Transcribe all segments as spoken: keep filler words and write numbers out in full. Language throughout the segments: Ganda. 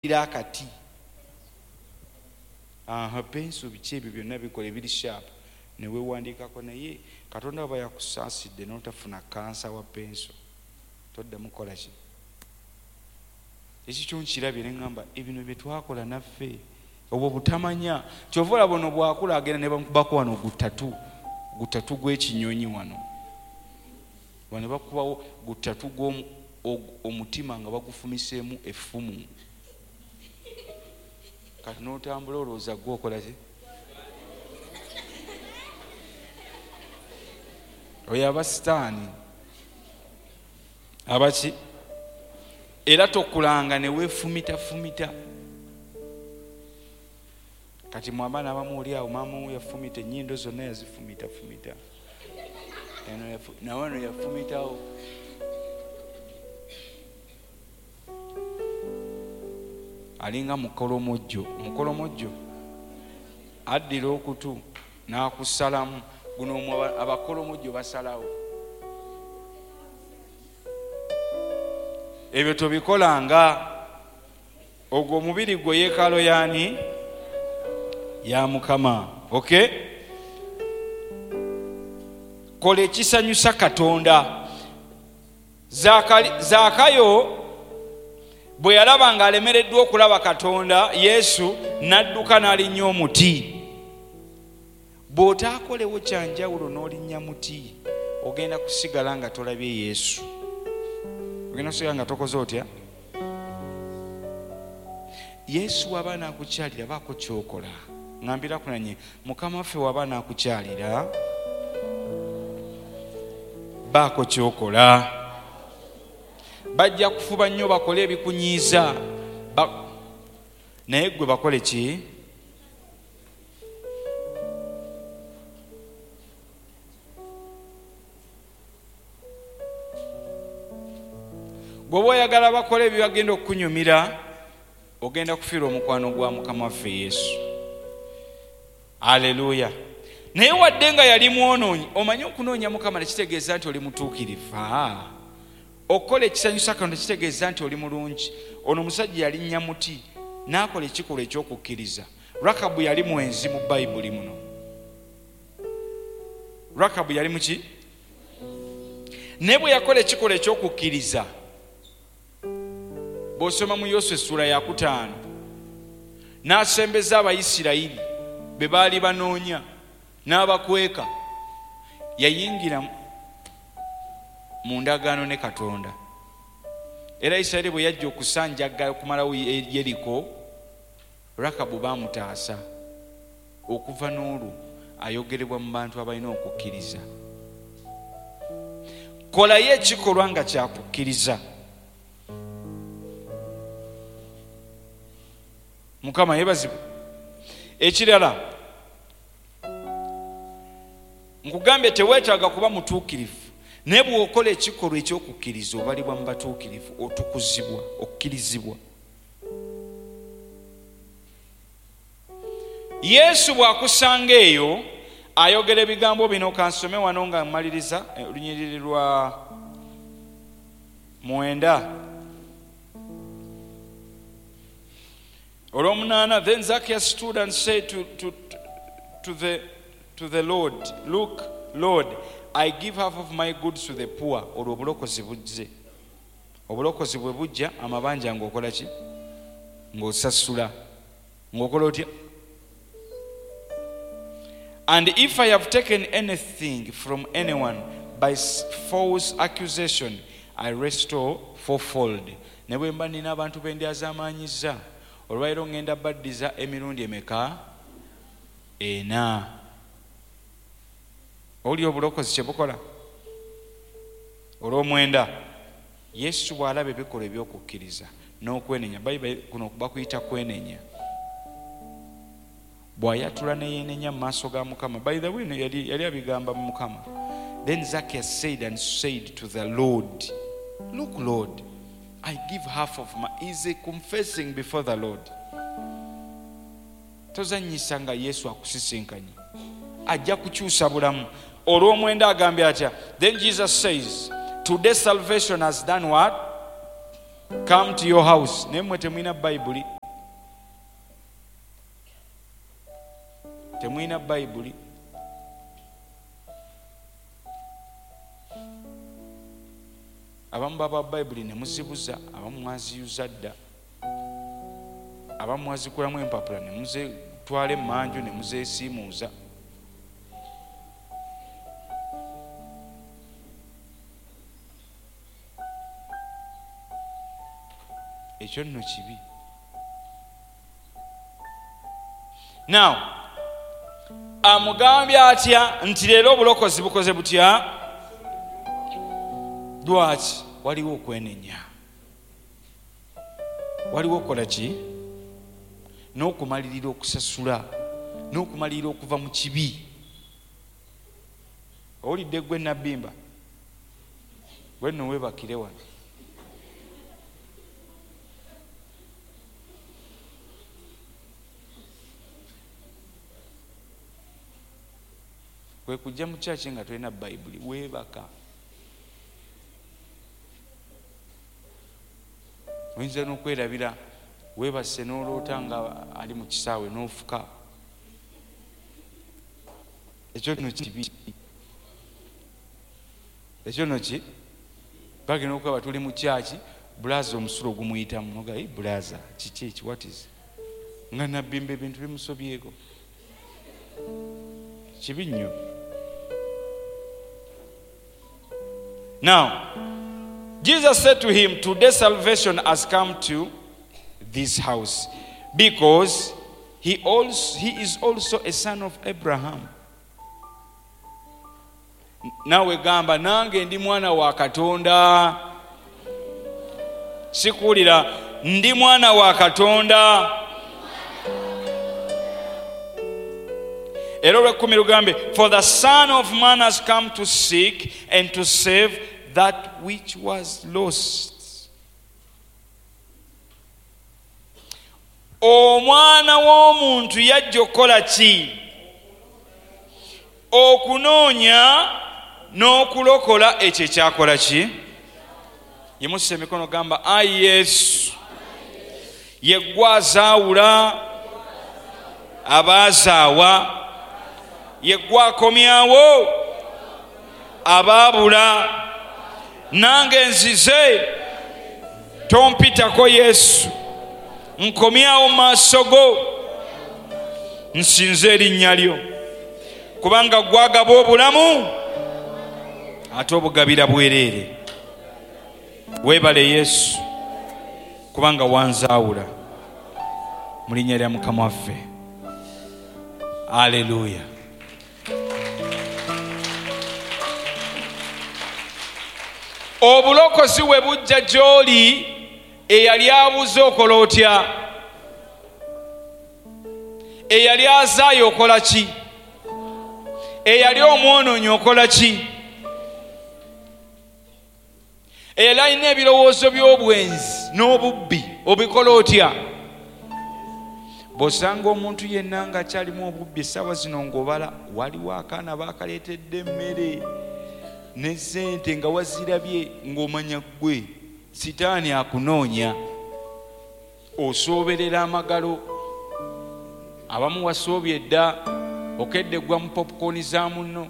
Akati aha penso biki ebyo byonna bikola ebiri sharp ne weewandiikako. Naye Katonda aba yakusaasidde n'otafuna kansa wa penso, toddamu kukola ki ekikyo. Nkirabye ne ŋŋamba ebino bye twakola naffe obwo butamanya. Kyova olaba ono bw'akula agenda ne bamukubako wano gutatu gutatu gw'ekinyonyi wano wano bakubawo gutatu gw'omutima nga bagufumiseemu effumu. Kati n'otambula olowooza gwe okola ki? Oyo aba sitaani abaki. Era tokulanga ne weefumitafumita. Kati mwe abaana abamu oli awo maama wo yafumita ennyindo zonna, yazifumitafumita, nawano yafumitawo. Alinga mukolomojjo. Mukolomojjo addira okutu n'akusalamu guno. Abakolomojjo basalawo. Ebyo tobikolanga. Ogwo omubiri gwe yeekaalo yaani? Ya Mukama. Okay, kola ekisanyusa Katonda. Zaakayo bwe yalaba ng'alemereddwa okulaba Katonda, Yesu, n'adduka n'alinnya omuti. Bw'otaakolewo kyanjawulo n'olinnya muti, ogenda kusigala nga tolabye Yesu, ogenda kusigala nga tokoze otya. Yesu waba n'akukyalira, baako kyokola. Ŋambira kunanye, Mukama waffe waba n'akukyalira, baako kyokola. Bajja kufuba nnyo bakole ebikunyiiza, naye gwe bakole ki? Gwe oyagala bakole ebyagenda okukunyumira, ogenda kufiirwa omukwano gwa Mukama waffe Yesu. Aleluya. Naye wadde nga yali mwonoonyi, omanyi okunoonya Mukama tekitegeeza nti oli mutuukirivu. Okukola ekisanyusa Katonda kitegeeza nti oli mulungi. Ono omusajja yalinnya muti n'akola ekikolwa ekyokukkiriza. Rakabu yali mwenzi mu Bayibuli muno. Rakabu yali muki? Naye bwe yakola ekikolwa ekyokukkiriza, bw'osoma mu Yoswa essula yakutaano, n'asembeza Abayisirayiri be baali banoonya n'abakweka, yayingira mu ndagaano ne Katonda. Era Isirayiri bwe yajja okusanjagga okumalawo Yeriko, Rakabu baamutaasa. Okuva n'olwo ayogerebwa mu bantu abalina okukkiriza. Kolayo ekikolwa nga kyakukkiriza. Mukama yeebazibwe. Ekirala nkugambye, teweetaaga kuba mutuukirivu, naye bw'okola ekikolwa ekyokukkiriza obalibwa mu batuukirivu, otukuzibwa, okkirizibwa. Yesu bw'akusanga eyo ayogera ebigambo bino. Kansome wano nga mmaliriza olunyiriri lwa mwenda olwomunaana. Then Zacchaeus stood and said to, to, to, the, to the Lord, "Look, Lord, I give half of my goods to the poor." Olwo obulokozi bujje. Obulokozi bwe bujja, amabanja ng'okola ki? Ng'osasula. Ng'okola otya? "And if I have taken anything from anyone by false accusation, I restore fourfold." Ne bwe mba nina abantu be ndyazaamaanyizza, olwaleero ŋŋenda baddiza emirundi emeka? Ena. Oli obulokozi kye bukola. Olw'omwenda, Yesu bw'alaba ebikolwa ebyokukkiriza n'okwenenya, Bayibuli kuno bakuyita kwenenya, bw'ayatula ne yeenenya mu maaso ga Mukama. By the way, yali, yali abigamba mu Mukama. Then Zacchaeus said and said to the Lord, "Look, Lord, I give half of my," is confessing before the Lord. Tozannyisa nga Yesu akusisinkanye, ajja kukyusa bulamu. Olw'omwenda agambye atya? Then Jesus says, "Today salvation has done what?" come to your house. Naye mmwe temulina Bayibuli, temulina Bayibuli. Abamu baba Bayibuli ne muzibuza, abamu mwaziyuza dda, abamu mwazikulamu empapula ne muzitwala emmanju ne muzeesiimuuza. Ekyo nno kibi. Now amugambye atya nti leero obulokozi bukoze butya? Lwaki? Waliwo okwenenya, waliwo okukola ki? N'okumalirira okusasula, n'okumalirira okuva mu kibi. Owulidde gwe Nabbimba, gwe nno weebakire wano. Kwe kujja mu kyaki nga tolina Bayibuli, weebaka. Oyinza n'okwerabira, weebase n'oloota nga ali mu kisaawe n'ofuka. Ekyo nno kibi. Ekyo nno ki? Bagenda okuba tuli mu kyaki, bulaza omusulo gumuyitamu. Noga, hey, bulaza, kiki eki, what is? Nga Nabbimba ebintu bimusobyeko. Kibi nnyo. Now, Jesus said to him, today salvation has come to this house, because he also, he is also a son of Abraham. Nawe gamba, nange ndi mwana wa Katonda. Sikuwulira, ndi mwana wa Katonda. Era olw'ekkumi lugambe, for the Son of Man has come to seek and to save that which was lost. Omwana w'omuntu yajja okukola ki? Okunoonya n'okulokola ekyo ekyakola ki? Yimusa emikono gamba, ayi Yesu, ye ggwe azaawula abaazaawa, ye ggwe akomyawo abaabula, nange nzize, tompitako Yesu, nkomyawo maaso go, nsinze erinnya lyo, kubanga gwagaba obulamu ate obugabira bwereere. Weebale Yesu, kubanga wanzaawula. Mu linnya lya Mukama waffe, aleluya. Obulokozi we bujja gy'oli, eyali abuze okola otya? Eyali azaayo okola ki? Eyali omwonoonyi okola ki? Eyali alina ebirowoozo by'obwenzi n'obubbi obikola otya? Bw'osanga omuntu yenna ng'akyalimu obubbi essaawa zino ng'obala, waliwo akaana baakaleetedde emmere ne ssente nga wazirabye, ng'omanya ggwe sitaani akunoonya. Osooberera amagalo, abamu wasoobye dda, okedde ggwa mu popcorn za munno.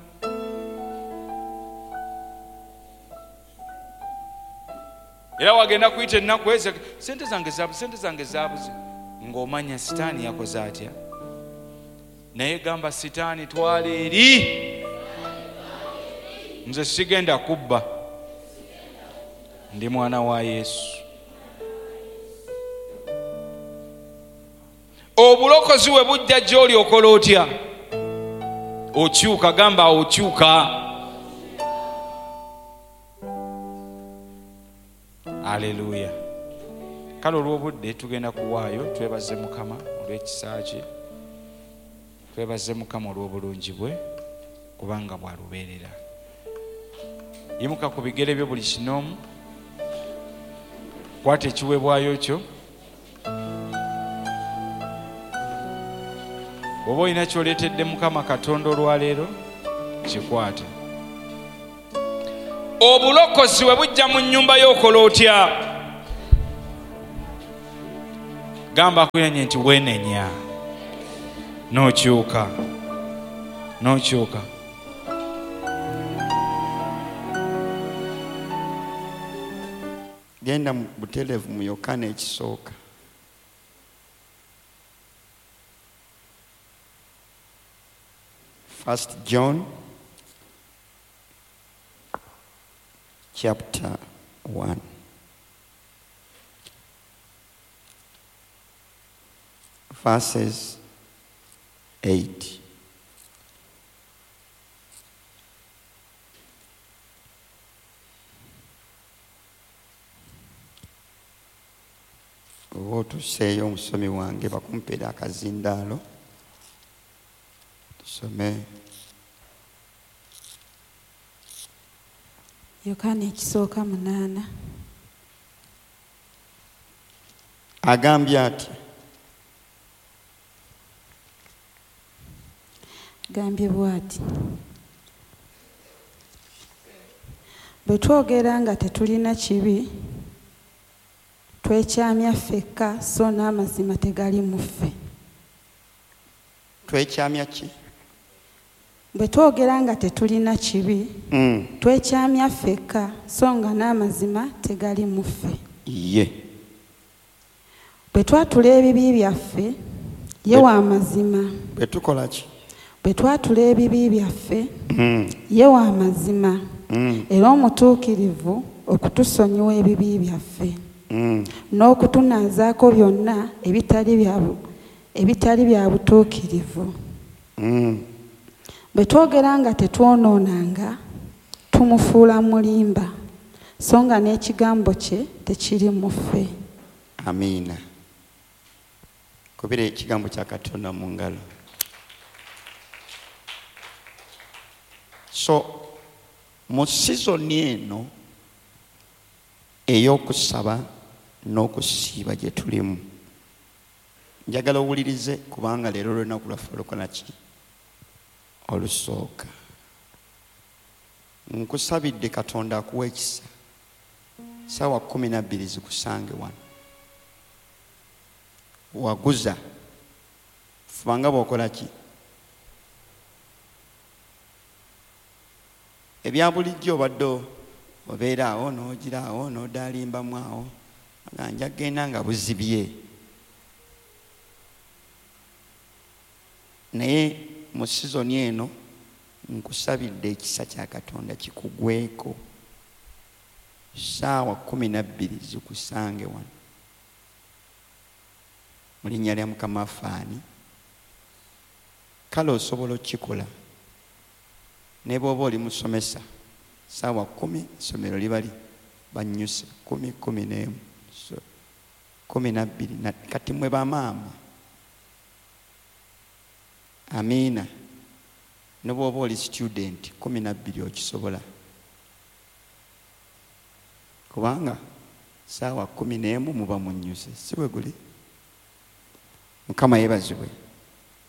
Era wagenda kuyita ennaku ezo, sente zange zaabuze, sente zange zaabuze, ng'omanya sitaani yakoze atya. Naye gamba sitaani, twala eri, nze sigenda kubba, ndi mwana wa Yesu. Obulokozi we bujja gy'oli okola otya? Okyuka, gamba okyuka. Aleluya. Kale olw'obudde tugenda kuwaayo, twebaze Mukama olw'ekisa kye, twebaze Mukama olw'obulungi bwe, kubanga bwalubeerera. Yimuka ku bigere byo buli kinoomu, kwata ekiweebwayo kyo. Bw'oba olina ky'oleetedde Mukama Katonda olwaleero, kikwate. Obulokozi we bujja mu nnyumba yo okola otya? Gamba akuyenye nti wenenya n'okyuka, n'okyuka. Genda mu butereevu mu Yokaana ekisooka. First John chapter one. Verses eight. Oba otuseeyo omusomi wange bakumpeera akazindaalo tusome. Yokaana ekisooka munaana. Agambye ati, agambye bw'ati, bwe twogera nga tetulina kibi twekyamya ffekka, so n'amazima tegali mu ffe. Twekyamya ki? Bwe twogera nga tetulina kibi mm. twekyamya ffekka, so nga n'amazima tegali mu ffe. Ye. Bwe twatula ebibi byaffe, ye wa mazima. Bwe tukola ki? Bwe twatula ebibi byaffe, mm. ye wa mazima mm. era omutuukirivu okutusonyiwa ebibi byaffe mm. n'okutunaazaako byonna ebitali bya ebitali bya butuukirivu. Mm. Bwe twogera nga tetwonoonanga tumufuula mulimba, so nga n'ekigambo kye tekiri mu ffe. Amiina. Kubira ekigambo kya Katonda mu ngalo. So mu sizoni eno ey'okusaba n'okusiiba gye tulimu, njagala owulirize kubanga leero olunaku lwaffe olukola ki? Olusooka. Nkusabidde Katonda akuwa ekisa, ssaawa kkumi na bbiri zikusange wano. Waguza, fuba nga bw'okola ki? Ebya bulijjo obadde obeera awo n'ogira awo n'odaalimbamu awo, nga nja kugenda nga buzibye. Naye mu sizoni eno nkusabidde ekisa kya Katonda kikugweko, ssaawa kkumi na bbiri zikusange wano. Mu linnya lya Mukama waffe ani? Kale osobola okukikola ne bw'oba oli musomesa, ssaawa kkumi essomero liba li bannyuse kkumi kkumi n'emu so kkumi na bbiri. Kati mmwe bamaama, amiina, ne bw'oba oli student kkumi na bbiri okisobola, kubanga ssaawa kkumi n'emu muba munnyuse, si bwe guli? Mukama yeebazibwe.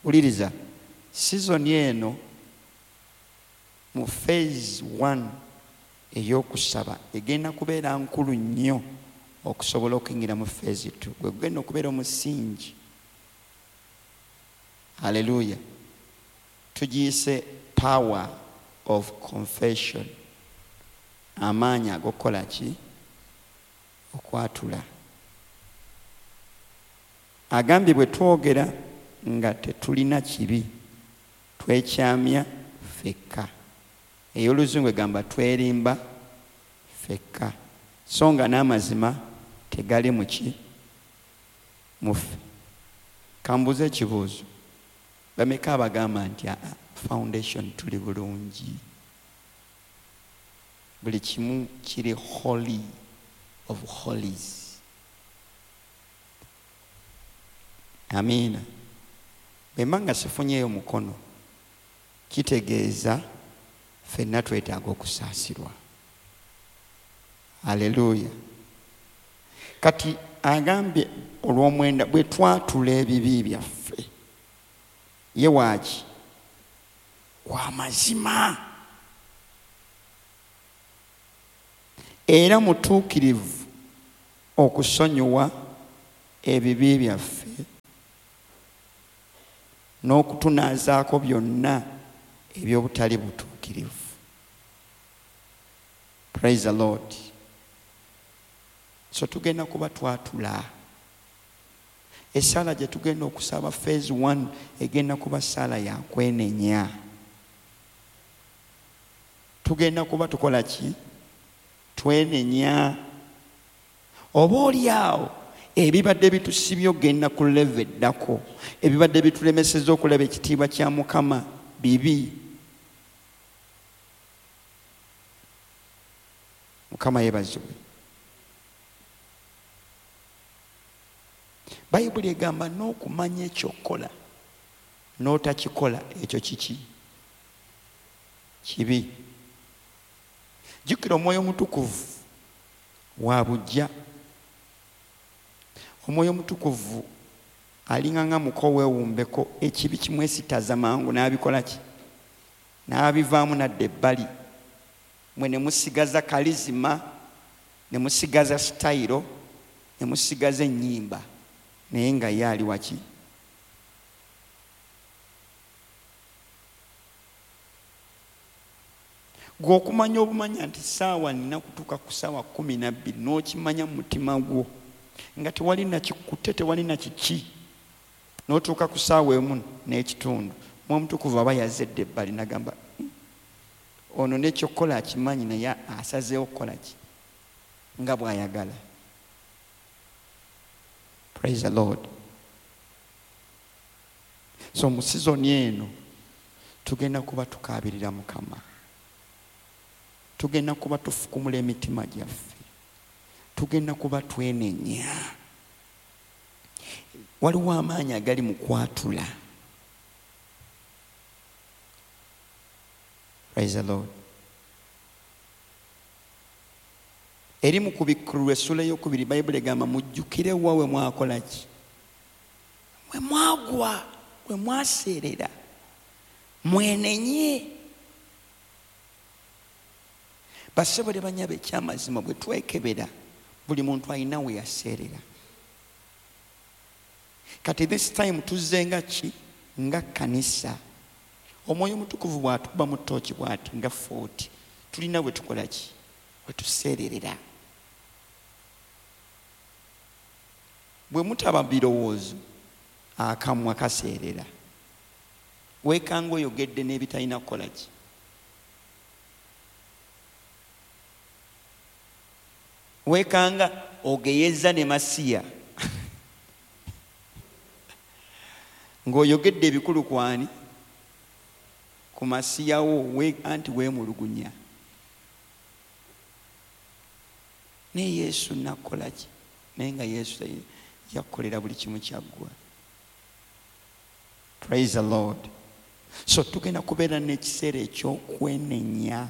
Wuliriza, sizoni eno mu phase one ey'okusaba egenda kubeera nkulu nnyo okusobola okuyingira mu phase two, gwe gugenda okubeera omusingi. Haleluya. Tugiyise power of confession, amaanyi ag'okukola ki? Okwatula. Agambye bwe twogera nga tetulina kibi twekyamya ffekka. Ey'oluzungu egamba twerimba ffekka, so nga n'amazima tegali mu ki? Mu ffe. Kambuuze ekibuuzo, bameka abagamba nti aa foundation tuli bulungi, buli kimu kiri holy of holies? Amiina. Bwe mba nga sifunyeeyo mukono, kitegeeza ffenna twetaaga okusaasirwa. Haleluya. Kati agambye olw'omwenda bwe twatula ebibi byaffe, ye waaki? Wa mazima era mutuukirivu okusonyiwa ebibi byaffe n'okutunaazaako byonna eby'obutali butuukirivu. Praise the Lord. So tugenda kuba twatula. Essala gye tugenda okusaba phase one egenda kuba ssaala ya kwenenya. Tugenda kuba tukola ki? Twenenya. Oba oli awo ebibadde bitusibye ogenda ku level eddako, ebibadde bitulemesezza okulaba ekitiibwa kya Mukama bibi. Mukama yeebazibwe. Bayibuli egamba n'okumanya ekyokukola n'otakikola ekyo kiki? Kibi. Jjukira Omwoyo Omutukuvu wa buggya. Omwoyo Omutukuvu alinga nga muko weewumbeko, ekibi kimwesitaza mangu n'abikola ki? N'abivaamu n'adda ebbali. Mwe ne musigaza kalizima, ne musigaza sitayiro, ne musigaza ennyimba, naye nga ye ali waki? Gwe okumanya obumanya nti ssaawa nina kutuuka ku ssaawa kkumi na bbiri n'okimanya mu mutima gwo nga tewali nakikutte, tewali na kiki, n'otuuka ku ssaawa emu n'ekitundu, Omwoyo Omutukuvu aba yazedde ebbali n'agamba ono n'ekyokukola akimanyi naye asazeewo kukola ki nga bw'ayagala. Praise the Lord. So mu sizoni eno tugenda kuba tukaabirira Mukama, tugenda kuba tufukumula emitima gyaffe, tugenda kuba twenenya. Waliwo amaanyi agali mu kwatula. Praise the Lord. Eri mu Kubikkulirwa essula ey'okubiri Bayibuli egamba mujjukire wa we mwakola ki? We mwagwa, we mwaseerera, mwenenye. Bassebo ne bannyabo, ekyamazima bwe twekebera buli muntu alina we yaseerera. Kati this time tuzze nga ki? Nga kkanisa. Omwoyo Omutukuvu bw'atukuba mu ttooki bw'ati nga forty, tulina we tukola ki? We tuseererera. Bwe mutaba birowoozo, akamwa kaseerera. Weekanga oyogedde n'ebitalina kukola ki? Weekanga ogeyeza ne Masiya ng'oyogedde ebikulu kwani? Ku Masiya wo, anti weemulugunya. Naye Yesu nakola ki? Naye nga Yesu yakolera buli kimu kyaggwa. Praise the Lord. So tugenda kubeera n'ekiseera eky'okwenenya.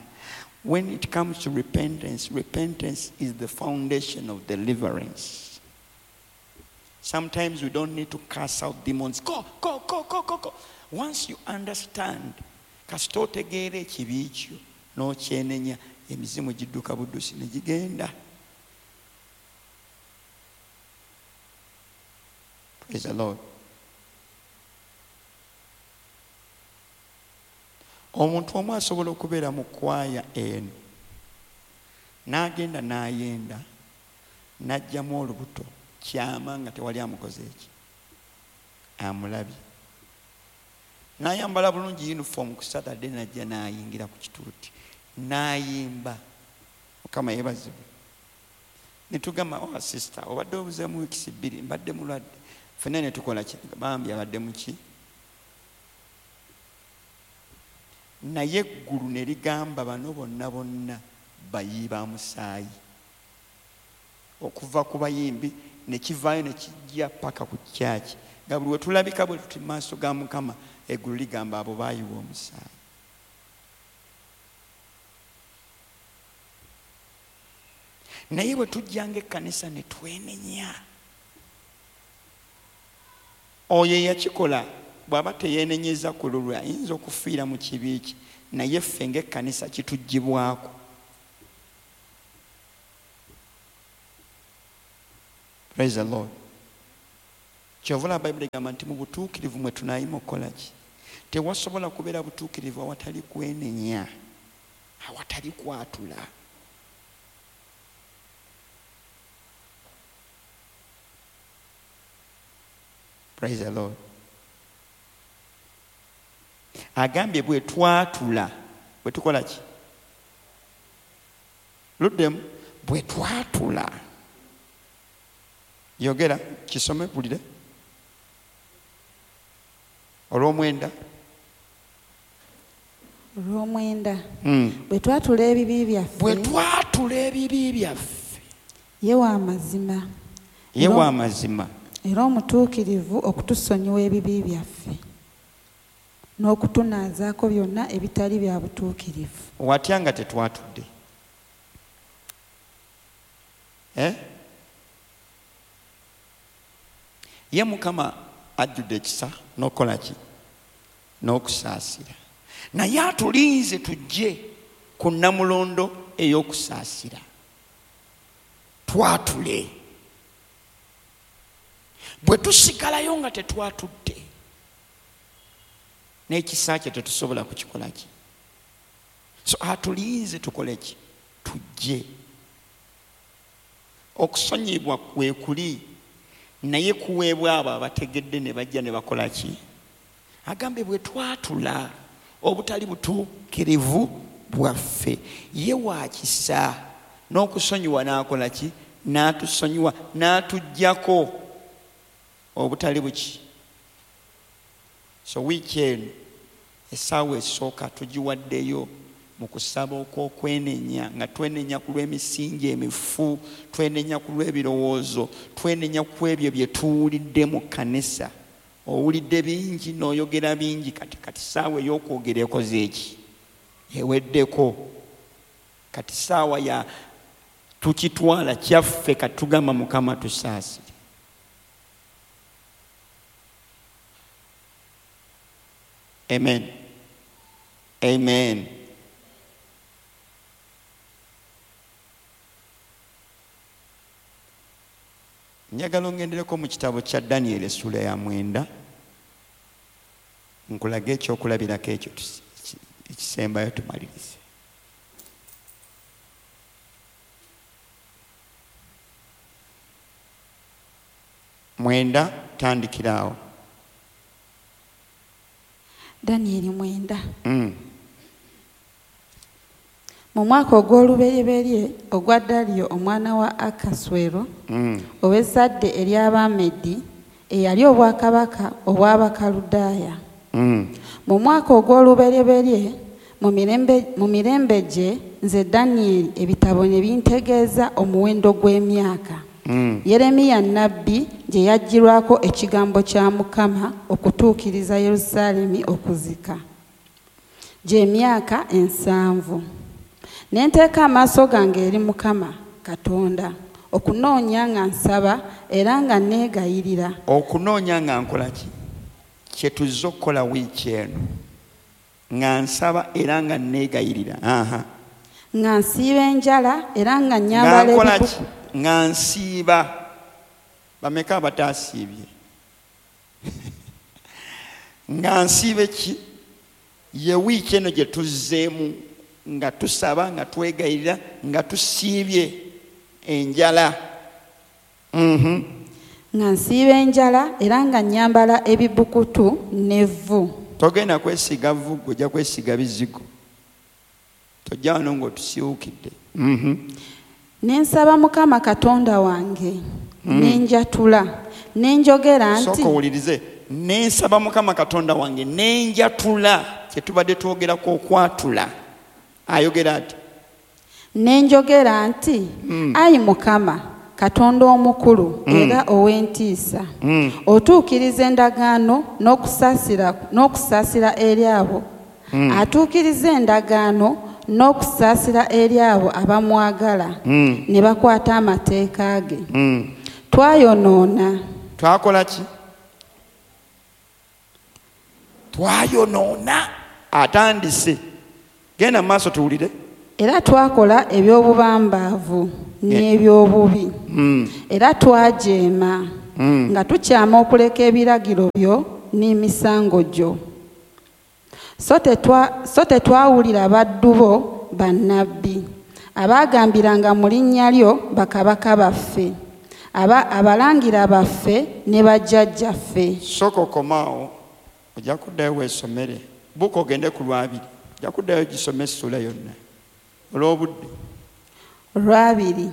When it comes to repentance, repentance is the foundation of deliverance. Sometimes we don't need to cast out demons. Go, go, go, go, go, go. Once you understand, kasita otegeera ekibi kyo n'okyenenya, emizimu gidduka buddusi ne gigenda. Praise the Lord. Omuntu omu asobola okubeera mu kwaya eno n'agenda n'ayenda n'aggyamu olubuto kyama nga tewali amukoze eki, amulabye, n'ayambala bulungi uniform ku Saturday n'ajja n'ayingira ku kituuti n'ayimba. Mukama yeebazibwe. Ne tugamba, oh sister, obadde obuzeemu wiikisi bbiri, mbadde mulwadde. Ffenna ne tukola ki? Bambi abadde muki? Naye eggulu ne ligamba bano bonna bonna bayi ba musaayi. Okuva ku bayimbi ne kivaayo ne kijja paka ku kyaki. Nga buli we tulabika bwe tuti mu maaso ga Mukama, eggulu ligamba abo baayiwa omusaayi. Naye bwe tujjanga ekkanisa ne twenenya, oyo eyakikola bw'aba teyeenenyeza ku lulwe ayinza okufiira mu kibi kye, naye ffe ng'ekkanisa kituggyibwako. Praise the Lord. Kyova Bayibuli egamba nti mu butuukirivu mwe tunaayima okukola ki? Tewasobola kubeera butuukirivu awatali kwenenya, awatali kwatula. Praise the Lord. Agambye bwe twatula, bwe tukola ki? Luddemu, bwe twatula. Yogera kisome bulire. Olw'omwenda. Olw'omwenda. Mm. Bwe twatula ebibi byaffe. Bwe twatula ebibi byaffe. Ye wa mazima. Ye wa mazima. Era omutuukirivu okutusonyiwa ebibi byaffe n'okutunaazaako byonna ebitali bya butuukirivu. Watya nga tetwatudde? Eh? Ye Mukama ajjudde ekisa n'okukola ki? N'okusaasira. Naye atulinze tujje ku nnamulondo ey'okusaasira. Twatule. Bwe tusigalayo nga tetwatudde, n'ekisa kye tetusobola kukikola ki? So atulinze tukole ki? Tujje. Okusonyibwa kwe kuli, naye kuweebwa abo abategedde ne bajja ne bakola ki? Agambye bwe twatula obutali butuukirivu bwaffe, ye wa kisa n'okusonyiwa n'akola ki? N'atusonyiwa, n'atuggyako obutali buki. So wiiki eno essaawa esooka tugiwaddeyo mu kusaba okw'okwenenya, nga twenenya ku lw'emisingi emifu, twenenya ku lw'ebirowoozo, twenenya ku ebyo bye tuwulidde mu kkanisa. Owulidde bingi n'oyogera bingi, kati kati ssaawa ey'okwogera ekoze eki? Eweddeko. Kati ssaawa ya tukitwala kyaffe, kati tugamba Mukama tusaasire. Amen. Amen. Njagala ongendereko mu kitabo kya Daniel essula ya mwenda, nkulage ekyokulabirako ekyo ekisembayo tumalirize. Mwenda, tandikira awo. Daniel mwenda. Mm. Mu mwaka ogw'olubereberye ogwa Daliyo omwana wa Akaswero mm. ow'ezzadde ery'Abamedi eyali obwakabaka obw'Abakaludaaya. Mm. Mu mwaka ogw'olubereberye mu mirembe mu mirembe gye nze Daniel ebitabo ne bintegeeza omuwendo gw'emyaka. Mm. Yeremiya nnabbi gye yaggyirwako ekigambo kya Mukama okutuukiriza Yerusaalemi okuzika gy'emyaka ensanvu. Ne nteeka amaaso gange eri Mukama Katonda okunoonya nga nsaba era nga neegayirira. Okunoonya nga nkola ki? Kye tuzze okukola wiiki eno, nga nsaba era nga neegayirira. Aha. Nga nsiiba enjala era nga nnyambala ebikuku. Nga nsiiba. Bameka abataasiibye? Nga nsiiba ki? Ye wiiki eno gye tuzzeemu nga tusaba, nga twegayirira, nga tusiibye enjala. Mm-hmm. Nga nsiiba enjala era nga nnyambala ebibukutu n'evvu. Togenda kwesiga vvu, ojja kwesiga bizigo. Tojja wano ng'otusiwukidde. Mm-hmm. Ne nsaba Mukama Katonda wange, mm. ne njatula, ne njogera nti. Sooka owulirize. Ne nsaba Mukama Katonda wange, ne njatula, kye tubadde twogerako okwatula. Ayogera ati. Ne njogera nti, mm. Ayi Mukama Katonda omukulu mm. era ow'entiisa, mm. otuukiriza endagaano n'okusaasira n'okusaasira eri abo mm. atuukiriza endagaano n'okusaasira eri abo abamwagala mm. ne bakwata amateeka ge. Mm. Twayonoona. Twakola ki? Twayonoona. Atandise. Genda mu maaso tuwulire. Era twakola eby'obubambaavu n'eby'obubi. Mm. Era twajeema. Nga tukyama okuleka ebiragiro byo n'emisango gyo. So tetwa so tetwawulira baddu bo bannabbi abaagambiranga mu linnya lyo bakabaka baffe, aba abalangira baffe ne bajjajjaffe. Sooka okomaawo, ojja kuddayo weesomere. Buuka ogende ku lwabiri, ojja kuddayo gisome essuula yonna olw'obudde. Lwabiri.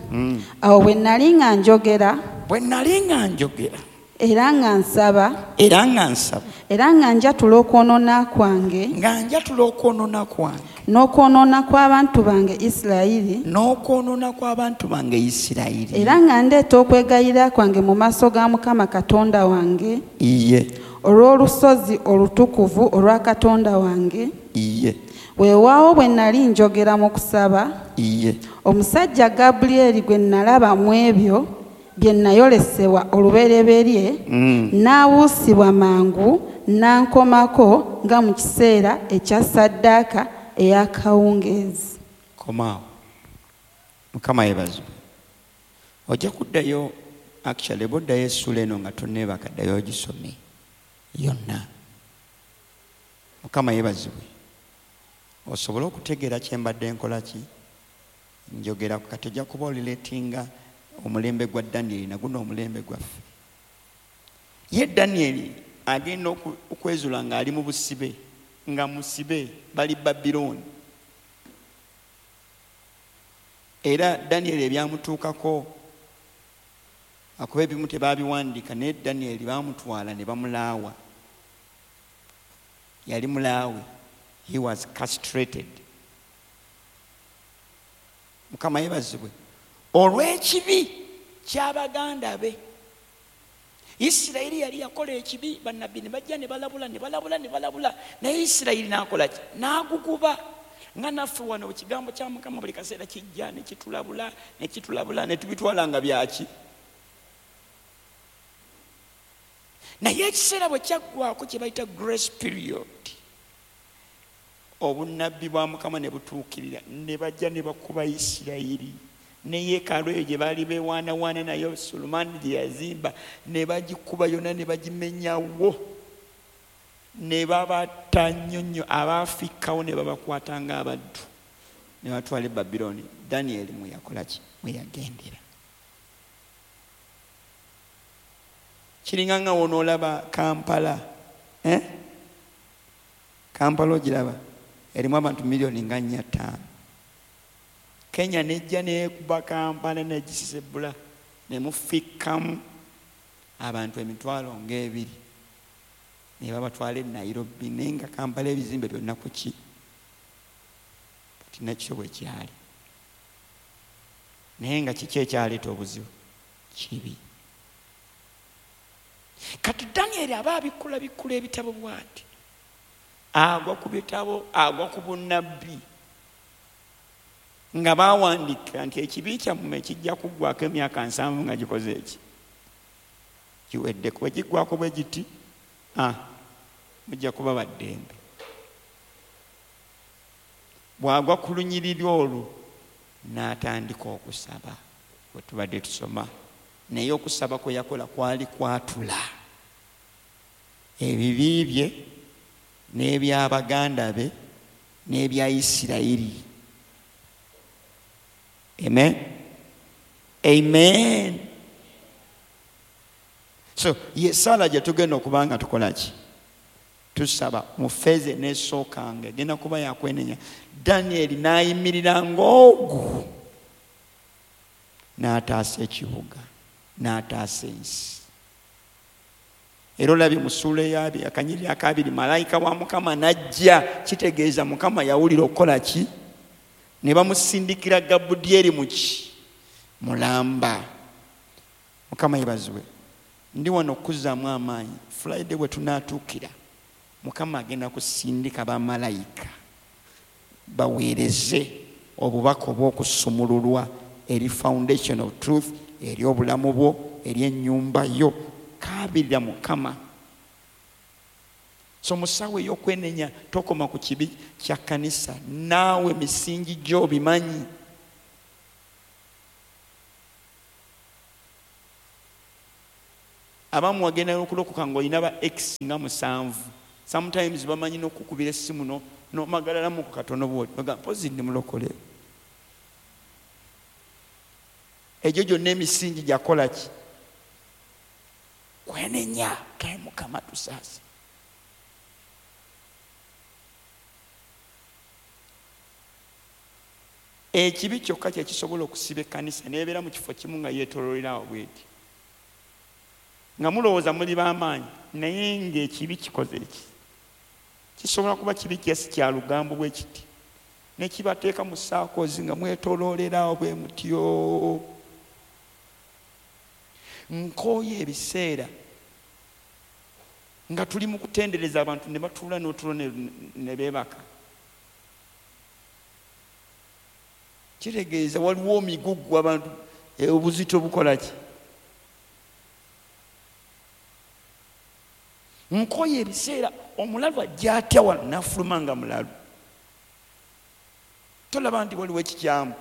Awo bwe nali nga njogera, bwe nali nga njogera, era nga nsaba, era nga nsaba, era nga njatula okwonoona kwange, nga njatula okwonoona kwange, n'okwonoona kw'abantu bange Isirayiri, n'okwonoona kw'abantu bange Isirayiri, era nga ndeeta okwegayirira kwange mu maaso ga Mukama Katonda wange, iye, olw'olusozi olutukuvu olwa Katonda wange, iye, weewaawo bwe nali njogera mu kusaba, iye, omusajja Gabulyeri gwe nalaba mu ebyo bye nayolesebwa olubereberye, n'abuusibwa mangu n'ankomako nga mu kiseera ekya ssaddaaka ey'akawungeezi. Komaawo. Mukama yeebazibwe. Ojja kuddayo, actually bw'oddayo essuula eno nga tonneebaka, ddayo ogisome yonna. Mukama yeebazibwe. Osobole okutegeera kye mbadde nkola ki njogera kati ojja kuba olileetinga omulembe gwa Danieli na guno omulembe gwaffe. Ye Danieli agenda okwezula ng'ali mu busibe, nga musibe bali Babilooni. Era Danieli ebyamutuukako akuba ebimu tebaabiwandiika, naye Danieli baamutwala ne bamulaawa. Yali mulaawe. He was castrated. Mukama yeebazibwe. Olw'ekibi ky'abaganda be. Isirayiri yali yakola ekibi, bannabbi ne bajja ne balabula ne balabula ne balabula, naye Isirayiri n'akola ki? N'aguguba. Nga naffe wano ekigambo kya Mukama buli kaseera kijja ne kitulabula ne kitulabula ne tubitwala nga byaki. Naye ekiseera bwe kyaggwako kye bayita grace period, obunnabbi bwa Mukama ne butuukirira, ne bajja ne bakuba Isirayiri. Ne yeekaalu eyo gye baali beewaanawaana nayo Sulemaani gye yazimba ne bagikuba yonna ne bagimenyawo, ne babatta nnyo nnyo, abaafikkawo ne babakwata ng'abaddu ne batwala e Babilooni. Danieli mwe yakola ki? Mwe yagendera. Kiringa nga w'onoolaba Kampala, eh? Kampala ogiraba erimu abantu miliyoni nga nnya ttaano. Kenya nejja neekuba Kampala negisisebula ne mufikkamu abantu emitwalo ng'ebiri ne babatwala e Nairobi, naye nga Kampala ebizimbe byonna ku ki? Kati nakyo bwe kyali. Naye nga kiki ekyaleeta obuzibu? Kibi. Kati Danieli aba abikkula bikkula ebitabo bw'ati, agwa ku bitabo, agwa ku bunnabbi nga baawandiika nti ekibi kyammwe kijja kuggwako emyaka nsanvu nga gikoze eki kiwedde. Bwe kiggwako bwe giti, ah, mujja kuba baddembe. Bw'agwa ku lunyiriri olwo n'atandika okusaba bwe tubadde tusoma, naye okusaba kwe yakola kwali kwatula ebibi bye n'eby'abaganda be n'ebya Isirayiri. Amen. Amen. So ye sala gye tugenda okuba nga tukola ki? Tusaba mu feeze n'esookanga egenda kuba yakwenenya. Danieli n'ayimirira ng'ogu n'ataasa ekibuga, n'ataasa ensi. Era olabye mu ssuula ey'abiri, akanyiriri akabiri, malayika wa Mukama n'ajja, kitegeeza Mukama yawulira okukola ki? Ne bamusindikira Gabudyeri mu ki? Mulamba. Mukama yeebazibwe. Ndi wano okuzzaamu amaanyi. Friday bwe tunaatuukira, Mukama agenda kusindika bamalayika baweereze obubaka obw'okusumululwa eri foundation of truth, eri obulamu bwo, eri ennyumba yo. Kaabirira Mukama. So mu ssaawa ey'okwenenya tokoma ku kibi kya kkanisa, naawe misingi gyo bimanyi. Abamu wagenda okulokoka ng'olina ba ex nga musanvu. Sometimes bamanyi n'okukubira essimu no nomagalalamu ku katono bw'oti bagamba mpozi ndi mulokole. Egyo gyonna emisingi gyakola ki? Kwenenya. Kaye Mukama tusaase. Ekibi kyokka kye kisobola okusiba ekkanisa n'ebeera mu kifo kimu nga yeetooloolera awo bw'eti, nga mulowooza muli b'amaanyi, naye ng'ekibi kikoze eki kisobola kuba kibi kyesi kya lugambo bwe kiti, ne kibateeka mu saakozi nga mwetooloolera awo bwe mutyo. Nkooye ebiseera nga tuli mu kutendereza abantu ne batuula n'otulo ne beebaka. Kitegeeza waliwo omigugu abantu obuzito bukola ki? Nkoye ebiseera omulalu ajja atya wano n'afuluma nga mulalu. Tolaba nti waliwo ekikyamu.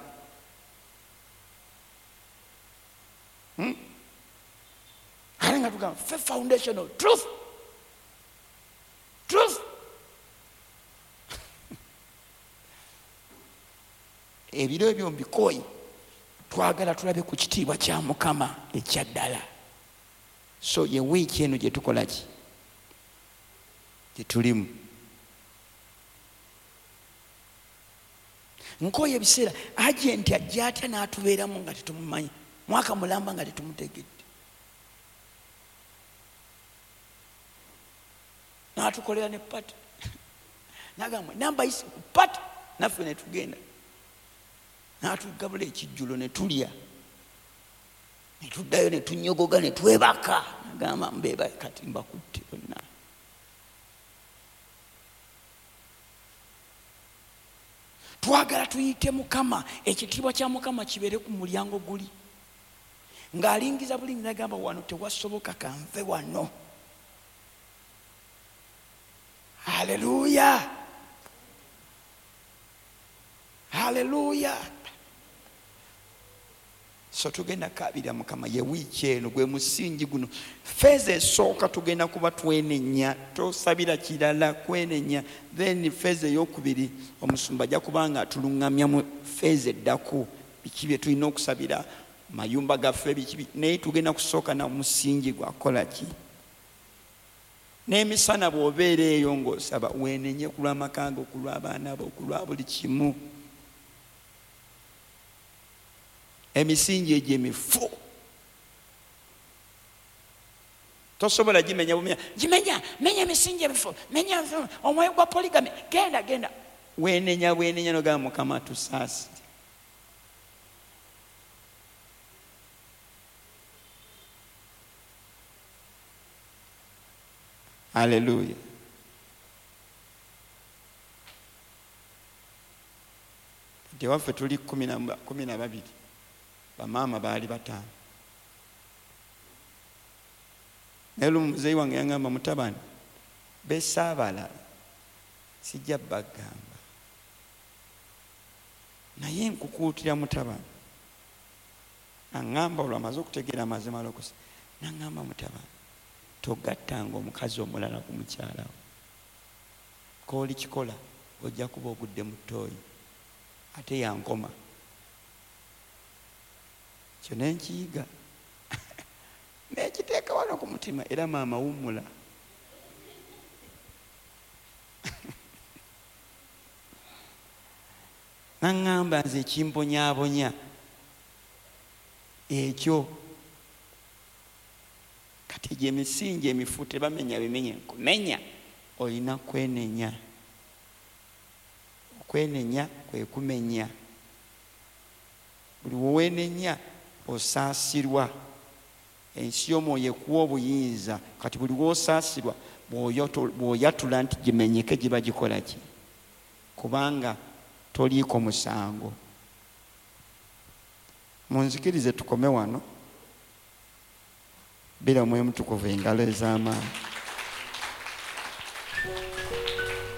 Hmm? Ate nga tugamba ffe foundation of truth. Truth. Ebiro ebyo mbikooye, twagala tulabe ku kitiibwa kya Mukama ekya ddala. So ye wiiki eno gye tukola ki? Gye tulimu. Nkooye ebiseera agenti ajja atya n'atubeeramu nga tetumumanyi, mwaka mulamba nga tetumutegedde, n'atukolera ne pati, n'agamba namba yise ku pati, naffe ne tugenda, n'atugabula ekijjulo ne tulya, ne tuddayo ne tunyogoga ne twebaka, n'agamba mbeeba kati mbakutte bonna. Twagala tuyite Mukama, ekitiibwa kya Mukama kibeere ku mulyango guli, ng'alingiza bulingi n'agamba wano tewasoboka, kanve wano. Haleluya, haleluya. So tugenda kabira Mukama ye wiiki eno gwe musingi guno. Feeza esooka tugenda kuba twenenya, tosabira kirala, kwenenya. Then feeza eyokubiri omusumba ajja kuba nga atuluŋŋamya mu feeza eddako, biki bye tulina okusabira mayumba gaffe, biki. Naye tugenda kusooka na musingi gwakola ki? N'emisana bw'obeera eyo ng'osaba weenenye ku lw'amaka go, ku lw'abaana bo, ku lwa buli kimu. Emisingi egyo emifu tosobola gimenya bumenya, gimenya menya emisingi emifu, menya omwoyo gwa polygamy, genda genda. Weenenya bwenenya n'ogamba Mukama tusaasire. Haleluya. Tewaffe tuli kumi na babiri, bamaama baali bataano. Naye lumu muzeeyi wange yangamba, mutabani besaabala sijja bagamba, naye nkukuutira mutabani. Aŋŋamba olwo amaze okutegeera amazima alokosa, n'aŋŋamba mutabani togattanga omukazi omulala ku mukyala wo, k'oli kikola ojja kuba ogudde mu ttooyi. Ate yankoma kyo ne nkiyiga nekiteeka wano ku mutima, era maama wummula. Naŋŋamba nze ekimponyaabonya ekyo. Kati egyo emisingi emifu tebamenya bimenye, nkumenya olina kwenenya. Okwenenya kwe kumenya. Buli w'owenenya osaasirwa. Ensi y'omwoyo ekuwa obuyinza. Kati buli w'osaasirwa bw'oyatula nti gimenyeke giba gikola ki? Kubanga toliiko musango. Munzikirize tukome wano. Bira Omwoyo Mutukuvu engalo ez'amaanyi.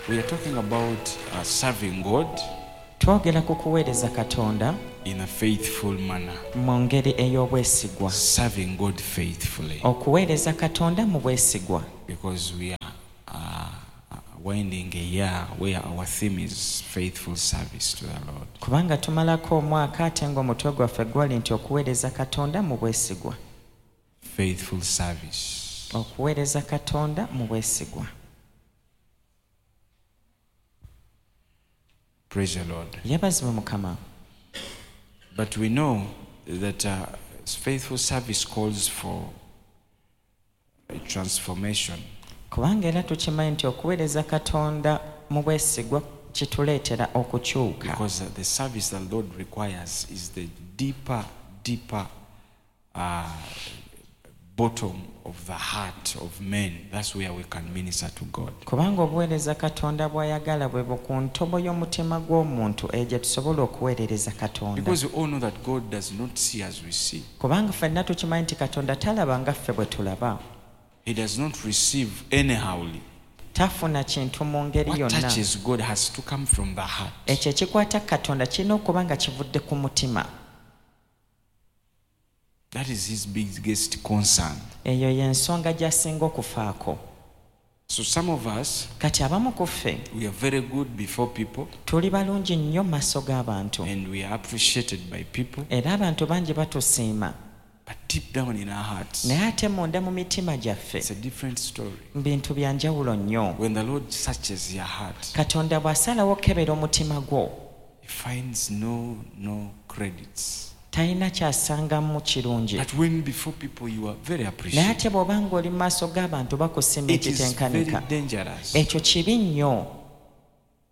We are talking about uh, serving God Twogera ku kuweereza Katonda In a faithful manner. Mu ngeri ey'obwesigwa. Serving God faithfully. Okuweereza Katonda mu bwesigwa. Because we are uh, winding a year where our theme is faithful service to the Lord. Kubanga tumalako omwaka ate ng'omutwe gwaffe gwali nti okuweereza Katonda mu bwesigwa. Faithful service. Okuweereza Katonda mu bwesigwa. Praise the Lord. Yeebazibwe Mukama. But we know that uh, faithful service calls for a transformation. Kubanga era tukimanyi nti okuweereza Katonda mu bwesigwa kituleetera okukyuka. Because the service the Lord requires is the deeper, deeper uh, bottom of the heart of men. That's where we can minister to God. Kubanga obuweereza Katonda bw'ayagala bwe ku ntobo y'omutima gw'omuntu eyo gye tusobola okuweerereza Katonda. Because we all know that God does not see as we see. Kubanga ffenna tukimanyi nti Katonda talaba nga ffe bwe tulaba. He does not receive anyhowly. Tafuna kintu mu ngeri What yonna. touches God has to come from the heart. Ekyo ekikwata Katonda kirina okuba nga kivudde ku mutima. That is his biggest concern. Eyo y'ensonga gy'asinga okufaako. So some of us, Kati abamu ku ffe, we are very good before people. Tuli balungi nnyo mu maaso g'abantu. And we are appreciated by people. Era abantu bangi batusiima. But deep down in our hearts, Naye ate munda mu mitima gyaffe, it's a different story. Bintu bya njawulo nnyo. When the Lord searches your heart, Katonda bw'asalawo okukebera omutima gwo, he finds no, no credits. Talina ky'asangamu kirungi. But when before people you are very Naye appreciated, ate bw'oba ng'oli mu maaso g'abantu bakusiima it is very ekitenkanika. dangerous. Ekyo kibi nnyo.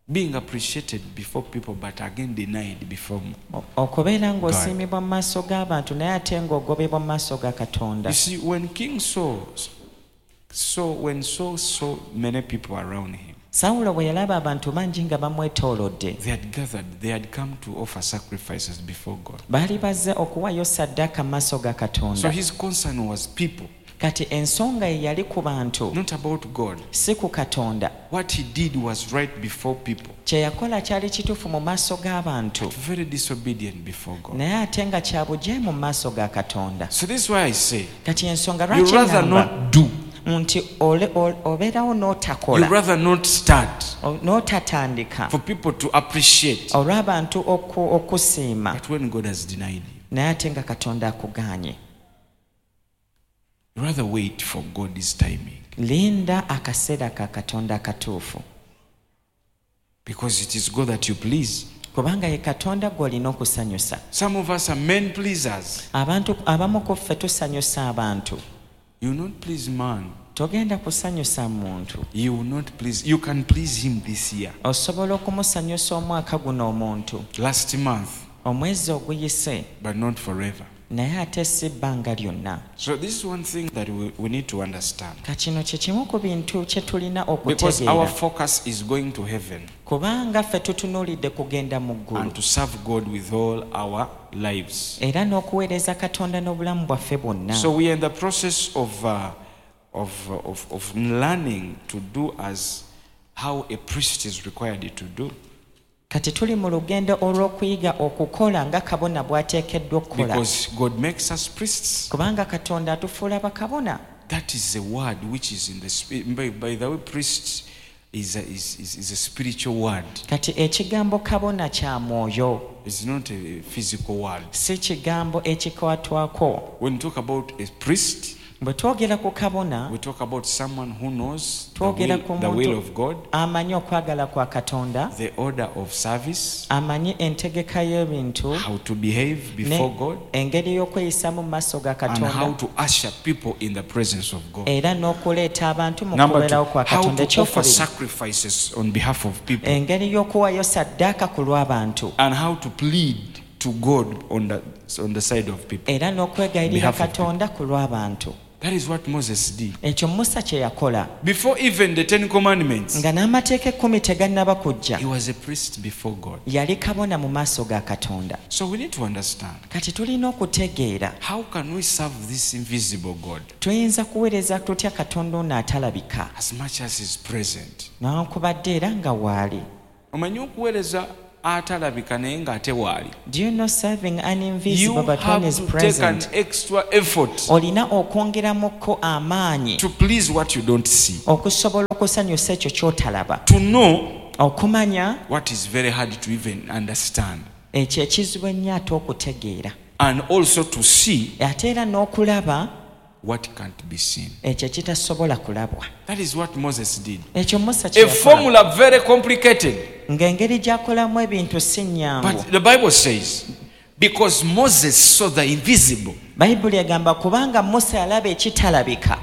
Being appreciated before people but again denied before O-, okubeera ng'osiimibwa mu maaso g'abantu naye ate ng'ogobebwa mu maaso ga Katonda. You see, when King Saul, so when Saul saw many people around him, Sawulo bwe yalaba abantu bangi nga bamwetoolodde, they had gathered, they had come to offer sacrifices before God. Baali bazze okuwaayo ssaddaaka mu maaso ga Katonda. So his concern was people. Kati ensonga ye yali ku bantu, Not about God. Si ku Katonda. What he did was right before people. Kye yakola kyali kituufu mu maaso g'abantu. But very disobedient before God. Naye ate nga kya bujeemu mu maaso ga Katonda. So this is why I say, Kati ensonga you lwaki rather ŋŋamba not do. nti ole-, ole-, obeerawo n'otakola. You rather not start. O-, n'otatandika. For people to appreciate. Olw'abantu oku-, okusiima. But when God has denied you, Naye ate nga Katonda akugaanye. you rather wait for God's timing. Linda akaseera ka Katonda akatuufu. Because it is God that you please. Kubanga ye Katonda gw'olina okusanyusa. Some of us are men pleasers. Abantu abamu ku ffe tusanyusa abantu. You will not please man. Togenda kusanyusa muntu. You will not please. You can please him this year. Osobola okumusanyusa omwaka guno omuntu. Last month. Omwezi oguyise. But not forever. Naye ate si bbanga lyonna. So this is one thing that we, we need to understand. Ka kino kye kimu ku bintu kye tulina Because our okutegeera. focus is going to heaven. Kubanga ffe tutunuulidde kugenda mu ggulu. And to serve God with all our lives. Era n'okuweereza Katonda n'obulamu bwaffe bwonna. So we are in the process of, uh, of, of, of learning to do as how a priest is required to do. Kati tuli mu lugendo olw'okuyiga okukola nga kabona bw'ateekeddwa okukola. Because God makes us priests. Kubanga Katonda atufuula bakabona. That is a word which is in the spirit. By, by the way, priest is a, is, is, is a spiritual word. Kati ekigambo kabona kya mwoyo. It's not a physical word. Si kigambo ekikwatwako. When we talk about a priest, Bwe twogera ku kabona, we talk about someone who knows the twogera will, ku the will muntu of God, amanyi okwagala kwa Katonda, the order of service, amanyi entegeka y'ebintu, how to behave ne before God, engeri y'okweyisaamu mu maaso ga and how Katonda, to usher people in the presence of God. era n'okuleeta abantu mu Number two, kubeerawo kwa how Katonda. to offer Ekyokubiri, sacrifices on behalf of people, engeri y'okuwaayo ssaddaaka ku lw'abantu, and how to plead to God on the, on the side of people. era n'okwegayirira Behalf of Katonda ku lw'abantu. That is what Moses did. Ekyo Musa kye yakola. Before even the Ten Commandments, Nga n'amateeka ekkumi tegannaba kujja, he was a priest before God. yali kabona mu maaso ga Katonda. So we need to understand, Kati tulina okutegeera, how can we serve this invisible God tuyinza kuweereza tutya Katonda ono atalabika as much as he's present? newankubadde era nga waali. Omanyi okuweereza atalabika naye ng'ate waali? Do you know serving an You invisible but one have is to take an present? extra effort Olina okwongeramuko amaanyi to please what you don't see. okusobola okusanyusa ekyo ky'otalaba. To know Okumanya what is very hard to even understand. ekyo ekizibu ennyo ate okutegeera. And also to see Ate era n'okulaba what can't be seen. ekyo ekitasobola kulabwa. That is what Moses did. Ekyo Musa A kye yakola. formula very complicated. Ng'engeri gy'akolamu ebintu si nnyangu. But the Bible says, because Moses saw the invisible. Bayibuli egamba kubanga Musa yalaba ekitalabika.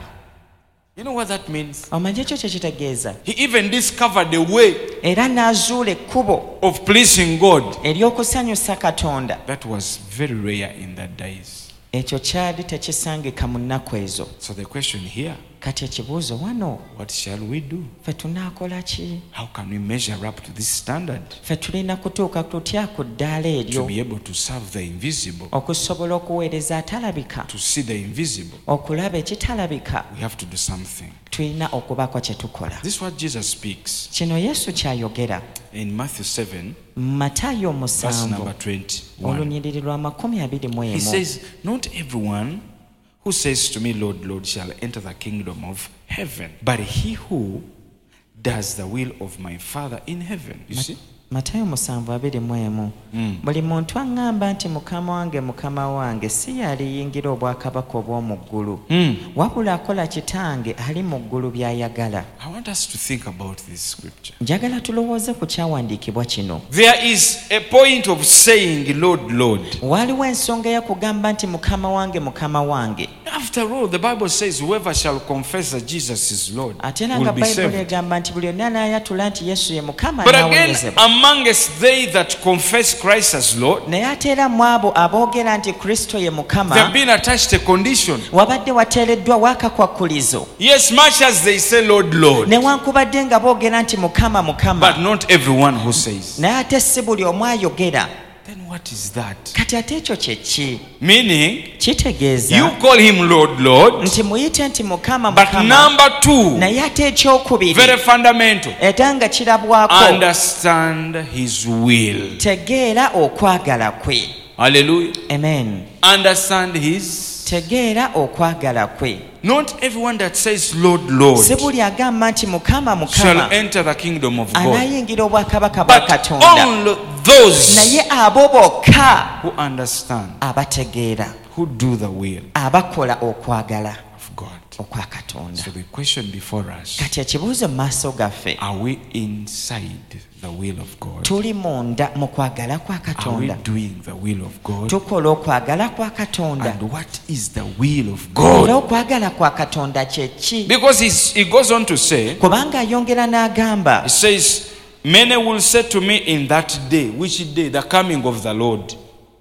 You know what that means? Omanyi ekyo kye kitegeeza? He even discovered a way Era n'azuula ekkubo of pleasing God. ery'okusanyusa Katonda. That was very rare in that days. Ekyo kyali tekisangika mu nnaku ezo. So the question here, Kati ekibuuzo wano, what shall we do? ffe tunaakola ki? How can we measure up to this standard Ffe tulina kutuuka tutya ku ddaala to eryo be able to serve the invisible, okusobola okuweereza atalabika, to see the invisible? okulaba ekitalabika? We have to do something. Tulina okubaako kye tukola. This is what Jesus speaks Kino Yesu ky'ayogera in Matthew seven, mu Matayo verse musanvu number twenty-one. olunyiriri lwa makumi abiri mu He emu. says, Not everyone who says to me, Lord, Lord, shall enter the kingdom of heaven, but he who does the will of my Father in heaven. You see? Matayo musanvu abiri mu emu. Mm. Buli muntu aŋŋamba nti mukama wange mukama wange si y'aliyingira obwakabaka obw'omu ggulu Mm. wabula akola kitange ali mu ggulu by'ayagala. I want us to think about this scripture. Njagala tulowooze ku kyawandiikibwa kino. There is a point of saying, Lord, Lord. Waliwo ensonga ey'okugamba nti mukama wange mukama wange. After all, the Bible says, whoever shall confess that Jesus is Lord Ate era will nga be Bayibuli saved. egamba nti buli yonna anaayatula nti Yesu ye mukama But again, anaawonyezebwa. amongst they that confess Christ as Lord, Naye ate era mu abo aboogera nti Kristo ye there mukama have been attached a condition. wabadde wateereddwawo akakwakkulizo. Yes, much as they say, Lord, Lord, Newankubadde nga boogera nti mukama mukama but not everyone who says. naye ate si buli omu ayogera. Then what is that? Kati ate ekyo kye ki? Meaning, Kitegeeza you call him Lord, Lord, nti muyite nti mukama but mukama number two, naye ate ekyokubiri very fundamental, era nga kirabwako understand his will. tegeera okwagala kwe. Hallelujah. Amen. Understand his. Tegeera okwagala kwe. Not everyone that says, Lord, Lord, Si buli agamba nti mukama shall mukama enter the kingdom of God, anaayingira obwakabaka bwa but Katonda only those naye abo bokka who understand, abategeera who do the will abakola okwagala of God. okwa Katonda. So the question before us, Kati ekibuuzo mu maaso gaffe are we inside the will of God? tuli munda mu kwagala kwa Are we Katonda? doing the will of God? Tukola okwagala kwa Katonda? And what is the will of Era God? okwagala kwa Katonda kye ki? Because he's, he goes on to say, Kubanga ayongera n'agamba he says, many will say to me in that day, which day? The coming of the Lord.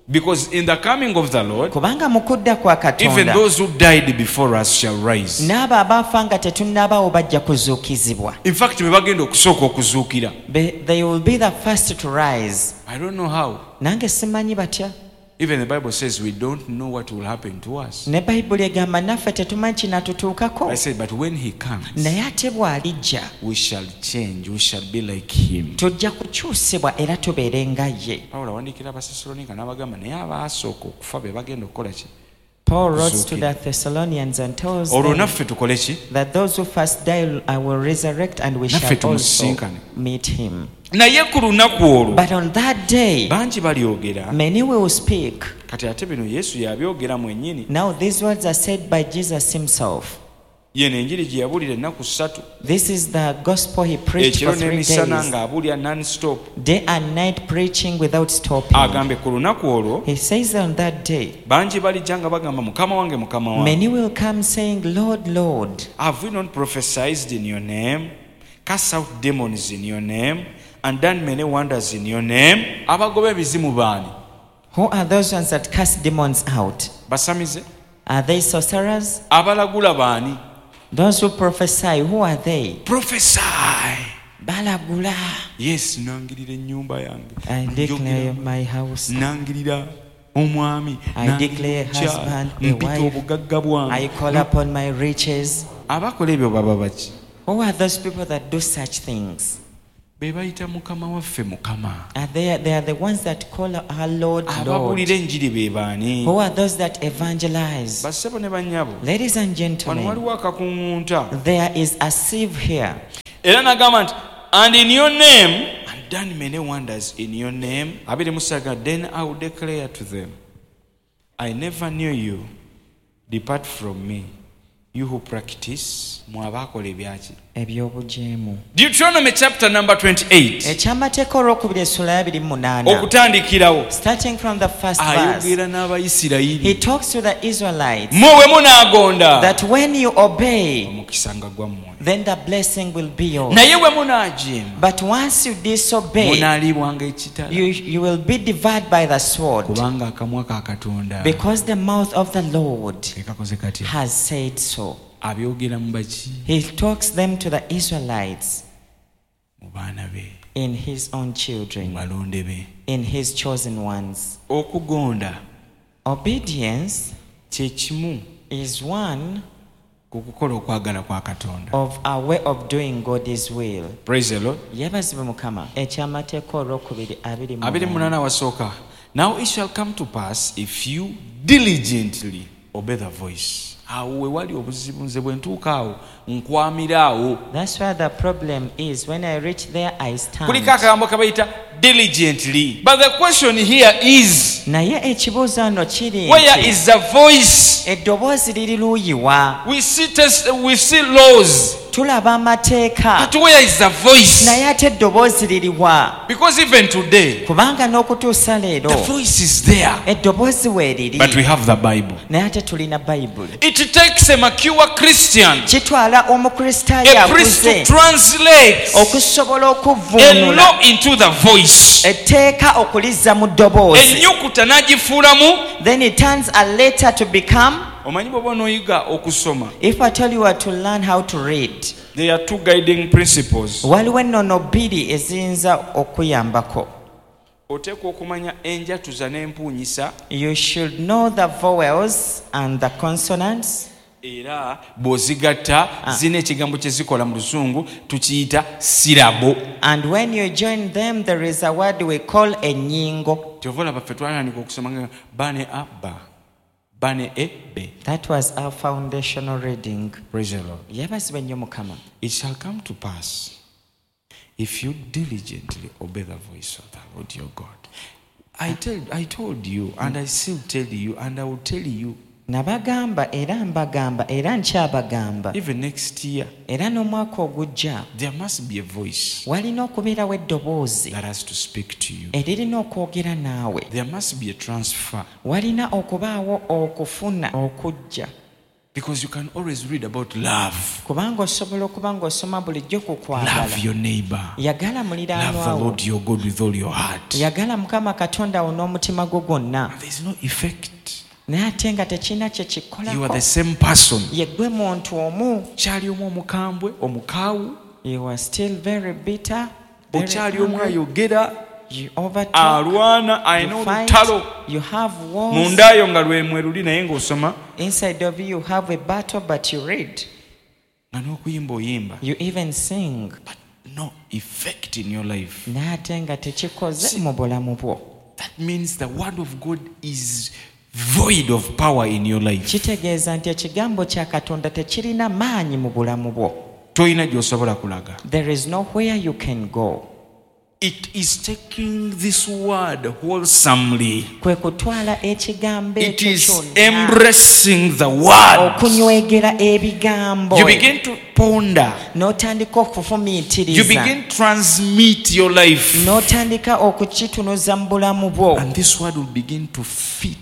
Because in the coming of the Lord, kubanga mu kudda kwa even Katonda those who died before us shall rise. n'abo abaafa nga tetunnabaawo bajja kuzuukizibwa. In fact, be bagenda okusooka okuzuukira. Be- They will be the first to rise. I don't know how. Nange simanyi batya. Even the Bible says we don't know what will happen to us. Ne Bayibuli egamba naffe tetumanyi kinaatutuukako. I said, but when he comes, Naye ate bw'alijja we shall change. We shall be like him. tujja kukyusibwa era tubeere nga ye. Pawulo awandiikira Abasessaloniika n'abagamba naye abaasooka okufa be bagenda okukola ki? Paul wrote to the Thessalonians and tells Olwo them naffe tukole ki? that those who first die I will resurrect and we Naffe shall also tumusisinkane. meet him. Naye ku lunaku olwo But on that day, bangi balyogera. many will speak. Kati ate bino Yesu yabyogera mwennyini. Now these words are said by Jesus himself. Yeno enjiri gye yabuulira ennaku ssatu. This is the gospel he preached Ekiro for three n'emisana days, ng'abuulira non-stop. day and night preaching without stopping. Agambe ku lunaku olwo He says on that day, bangi balijja nga bagamba mukama wange mukama wange. many will come saying, Lord, Lord, Have we not prophesied in your name, cast out demons in your name, and done many wonders in your name? Abagoba ebizimu baani? Who are those ones that cast demons out? Basamize? Are they sorcerers? Abalagula baani? Those who prophesy, who are they? Prophesy. Balagula. Yes, nangirira ennyumba yange. I declare Njogera- my house. Nangirira omwami. I nangirira declare omukyala, husband, a mpita wife. obugagga bwange. I call upon my riches. Abakola ebyo baba baki? Who are those people that do such things? Be bayita Mukama waffe Mukama. Are they, they are the ones that call our Lord, Lord. Ababuulira enjiri be baani? Who are those that evangelize? Bassebo ne bannyabo. Ladies and Wano gentlemen, waliwo akakuŋŋunta. there is a sieve here. Era n'agamba nti, and in your name, and done many wonders in your name. Abiri mu ssatu, then I will declare to them, I never knew you. Depart from me, you who practice. Mwe abaakola ebyaki? Ebyobujeemu. Deuteronomy chapter number twenty-eight. Ekyamateeka olwokubiri essula ya abiri mu munaana. Okutandikirawo. Starting from the first verse. Ayogera n'Abayisirayiri. He talks to the Israelites. Mmwe bwe munaagonda. That when you obey, Omukisa nga gwammwe. then the blessing will be yours. Naye bwe munaajeema. But once you disobey, Munaaliibwanga ekitala. you, you will be devoured by the sword. Kubanga akamwa ka Katonda. Because the mouth of the Lord Ke kakoze katya? has said so. Abyogera mu baki? He talks them to the Israelites. Mu baana be. In his own children. Mu balonde be. In his chosen ones. Okugonda. Obedience kye kimu is one ku kukola okwagala kwa Katonda. of our way of doing God's will. Praise the Lord. Yeebazibwe Mukama. Ekyamateeka olwokubiri abiri mu Abiri mu munaana. munaana wasooka. Now it shall come to pass if you diligently obey the voice. Awo we wali obuzibu nze bwe ntuuka awo nkwamira awo. That's where the problem is. When I reach there, I stand. Kuliko akagambo ke bayita diligently. But the question here is, Naye ekibuuzo nno kiri where nti, is the voice? eddoboozi liri luuyi wa? We see test, we see laws. Tulaba amateeka. But where is the voice? Naye ate eddoboozi liri wa? Because even today, Kubanga n'okutuusa leero, the voice is there. eddoboozi weeriri. But we have the Bible. Naye ate tulina Bayibuli. It takes a mature Christian, Kitwala Omukristaayo a priest to akuze, translate okusobola a okuvvuunula law into the voice. etteeka okulizza mu ddoboozi. Ennyukuta n'agifuulamu. Then it turns a letter to become. Omanyi bw'oba onooyiga okusoma, If I tell you to learn how to read, there are two guiding principles. waliwo ennono bbiri eziyinza okuyambako. Oteekwa okumanya enjatuza n'empuunyisa. You should know the vowels and the consonants. Era bw'ozigatta zirina ekigambo kye zikola mu Luzungu tukiyita syllable. And when you join them, there is a word we call ennyingo. Kyova olaba ffe twatandika okusoma nga ba ne a ba, ba ne e b. That was our foundational reading. Praise the Lord. Yeebazibwe nnyo Mukama. It shall come to pass if you diligently obey the voice of the Lord your God. I tell, I told you, and I still tell you, and I will tell you. Nabagamba era mbagamba era nkyabagamba. Even next year, Era n'omwaka ogujja, there must be a voice walina okubeerawo eddoboozi that has to speak to you. eririna okwogera naawe. There must be a transfer. Walina okubaawo okufuna okujja. Because you can always read about love. Kubanga osobola okuba ng'osoma bulijjo ku kwagala. Love your neighbor. Yagala Love the muliraanwa wo. Lord your God with all your heart. Yagala Mukama Katonda wo n'omutima gwo gwonna. There is no effect. Naye ate nga tekirina kye You are the kikolako. same person. Ye ggwe muntu omu. Okyali omu omukambwe, omukaawu. You are still very bitter, very Okyali omu angry. ayogera, You overtalk, alwana, alina you fight, olutalo. you have wars. Munda yo nga lwe luli naye ng'osoma. Inside of you, you have a battle, but you read. Nga n'okuyimba oyimba. You even sing. But no effect in your life. Naye ate nga tekikoze mu bulamu bwo. That means the word of God is void of power in your life. Kitegeeza nti ekigambo kya Katonda tekirina maanyi mu bulamu bwo. Tolina gy'osobola kulaga. There is nowhere you can go. It is taking this word wholesomely. Kwe kutwala ekigambo It ekyo is kyonna. embracing the word. Okunywegera ebigambo. You begin to ponder. N'otandika You okufumiitiriza. begin to transmit your life. N'otandika okukitunuza mu bulamu bwo. And this word will begin to fit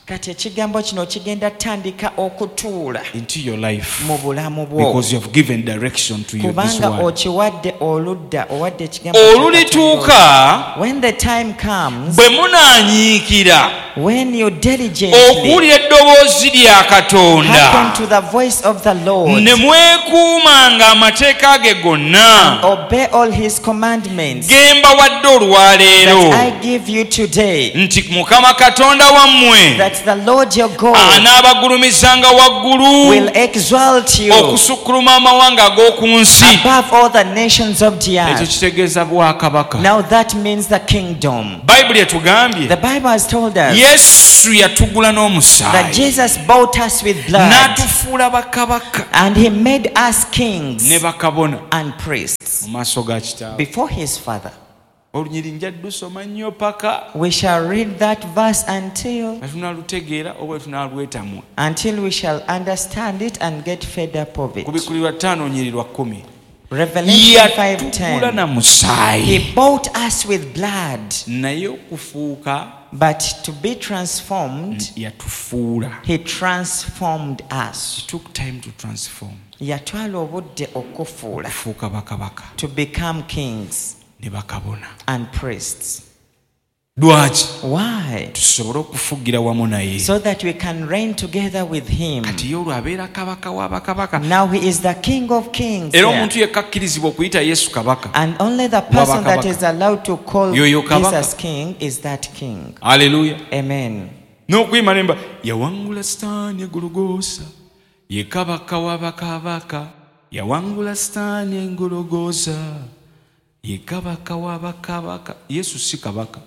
Kati ekigambo kino kigenda tandika okutuula into your life. mu bulamu bwo. Because you have given direction to your, this Kubanga word. okiwadde oludda, owadde ekigambo kya Olulituuka Katonda. When the time comes, bwe munaanyiikira when you diligently okuwulira eddoboozi lya Katonda hearken to the voice of the Lord, ne mwekuumanga amateeka ge gonna obey all his commandments ge mbawadde olwaleero that I give you today, nti Mukama Katonda wammwe that That the Lord your God anaabagulumizanga waggulu will exalt you okusukkuluma amawanga ag'oku nsi. above all the nations of the Ekyo earth. kitegeeza bwakabaka. Now that means the kingdom. Bayibuli etugambye The Bible has told us Yesu yatugula that n'omusaayi Jesus bought us with blood n'atufuula bakabaka and he made us ne kings bakabona and priests mu maaso ga kitaawe. before his Father. Olunyiri nja ddusoma nnyo paka We shall read that verse until nga tunaalutegeera oba tunaalwetamwa. until we shall understand it and get fed up of it. Kubikkulirwa ttaano olunyiri lwa kkumi. Revelation five Yatugula ten. na musaayi. He bought us with blood, Naye okufuuka but to be transformed, yatufuula. he transformed us. It took time to transform. Yatwala obudde okufuula Okufuuka bakabaka to become kings ne bakabona. and priests. Lwaki? Why? Tusobole okufugira wamu naye. So that we can reign together with him. Kati ye olwo abeera kabaka wa bakabaka. Now he is the King of kings. Era there. omuntu yekka akkirizibwa okuyita Yesu kabaka. And only the person that Wabakabaka. is allowed to call Yoyo kabaka. Jesus king is that king. Haleluya. Amen. N'okuyima nemba yawangula Sitaani egologoosa ye kabaka wa bakabaka. Yawangula Sitaani engologoosa ye kabaka wa bakabaka. Yesu si kabaka.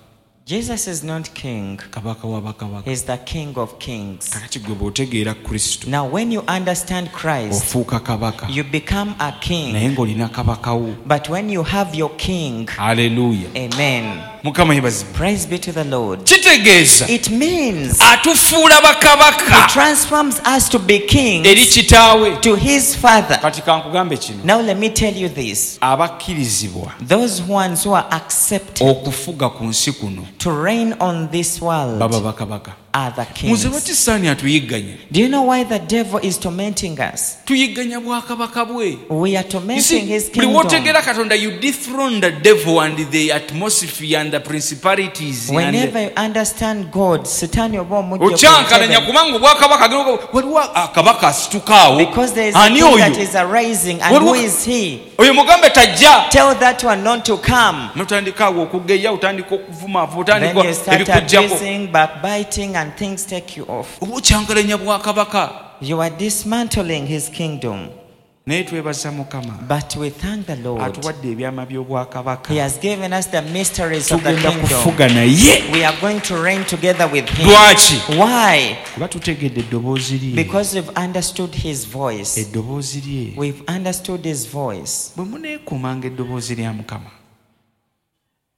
Jesus is not king. Kabaka wa bakabaka. He's the King of kings. Kakati gwe bw'otegeera Kristo Now when you understand Christ, ofuuka kabaka you become a naye king. ng'olina kabaka wo. But when you have your king, Haleluya. amen. Mukama yeebazibwe. Praise be to the Lord. Kitegeeza It means atufuula he bakabaka transforms us to be eri kings kitaawe. to his Father. Kati kankugambe kino. Now let me tell you this. Abakkirizibwa Those ones who are accepted okufuga ku nsi kuno to reign on this world baba bakabaka. are the Muze kings. lwaki Sitaani atuyigganya? Do you know why the devil is tormenting us? Tuyigganya bwakabaka bwe. We are You tormenting see, his buli kingdom. w'otegeera Katonda you dethrone the devil and the atmosphere and the principalities and Whenever you understand God, Sitaani oba omujja ku okyankalanya ntebe. kubanga obwakabaka agenda- waliwo akabaka asitukaawo. Because there is a Ani king that oyo? is arising, and Waliwo- who is he? Oyo mugambe tajja. Tell that one not to come. Notandika awo okugeya, otandika okuvumaava, Then otandika you start ebikujjako. abusing, backbiting, and things take you off. Oba okyankalanya bwakabaka. You are dismantling his kingdom. Naye twebaza Mukama But we thank the Lord. atuwadde ebyama by'obwakabaka. He has given us the mysteries of the Tugenda kingdom. kufuga naye. We are going to reign together with him. Lwaki? Why? Kuba tutegedde eddoboozi lye. Because we've understood his voice. Eddoboozi lye. We've understood his voice. Bwe muneekuumanga eddoboozi lya Mukama.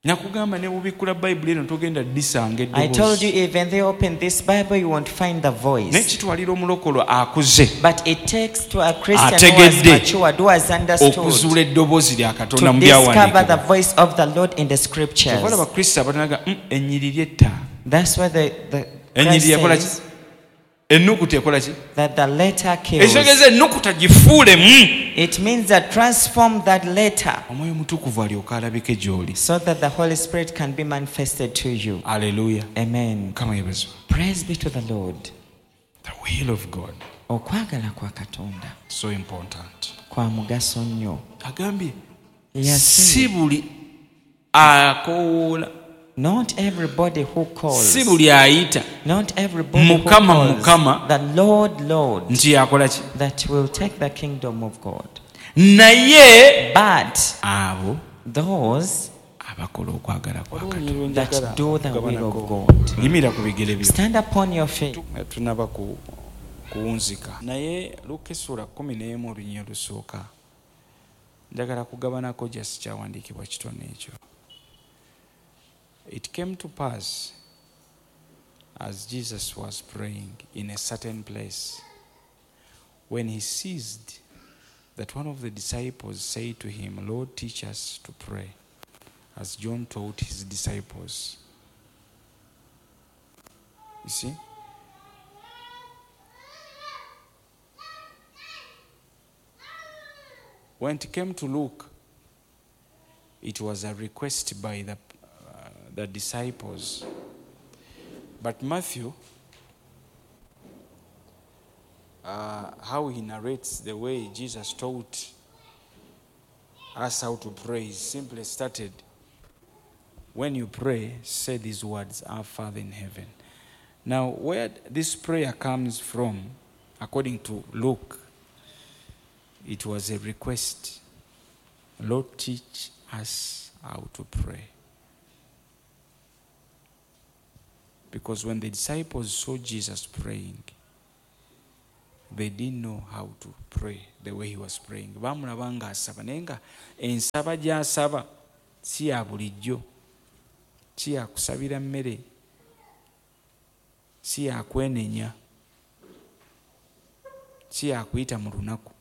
Nakugamba ne bw'obikkula Bayibuli eno togenda ddisanga I told you, eddoboozi. even they open this Bible, you won't find the Naye voice. kitwalira omulokolo akuze But it takes to a Christian who has Ategedde. matured, who has understood, okuzuula eddoboozi lya Katonda to mu discover the byawandiikibwa. voice of the Lord in the scriptures. Kyova olaba Kristo abatanaga "Mm, ennyiriri etta. That's why the, the Ennyiriri Christ ekola ki? says Ennukuta ekola ki? that the letter kills. Ekitegeeza ennukuta gifuulemu. It means that transform that letter Omwoyo Omutukuvu alyoke alabike gy'oli. so that the Holy Spirit can be manifested to you. Aleluya. Amen. Mukama yeebazibwe. Praise be to the Lord. The will of God Okwagala kwa Katonda so important. kwa mugaso nnyo. Agambye Yes. si buli akowoola, Not everybody who calls, si buli ayita not everybody who Mukama, calls Mukama. the Lord, Lord, nti yakola ki? that will take the kingdom of God. Naye But abo those abakola okwagala kwa Katonda. that do the will of God. Yimirira ku bigere byo. Stand upon your feet. Tunaba ku kuwunzika. Naye Luka essuula kkumi n'emu olunyiriri olusooka. Njagala kugabanako just kyawandiikibwa kitono ekyo. It came to pass as Jesus was praying in a certain place, when he ceased, that one of the disciples said to him, Lord, teach us to pray, as John taught his disciples. You see? When it came to Luke, it was a request by the, uh, the disciples. But Matthew, uh, how he narrates the way Jesus taught us how to pray, he simply started, when you pray, say these words, Our Father in heaven. Now, where this prayer comes from, according to Luke, it was a request. Lord, teach us how to pray. Because when the disciples saw Jesus praying, they didn't know how to pray the way he was praying. Bamulaba ng'asaba naye nga ensaba gy'asaba si ya bulijjo, si ya kusabira mmere, si ya kwenenya, si ya kuyita mu lunaku.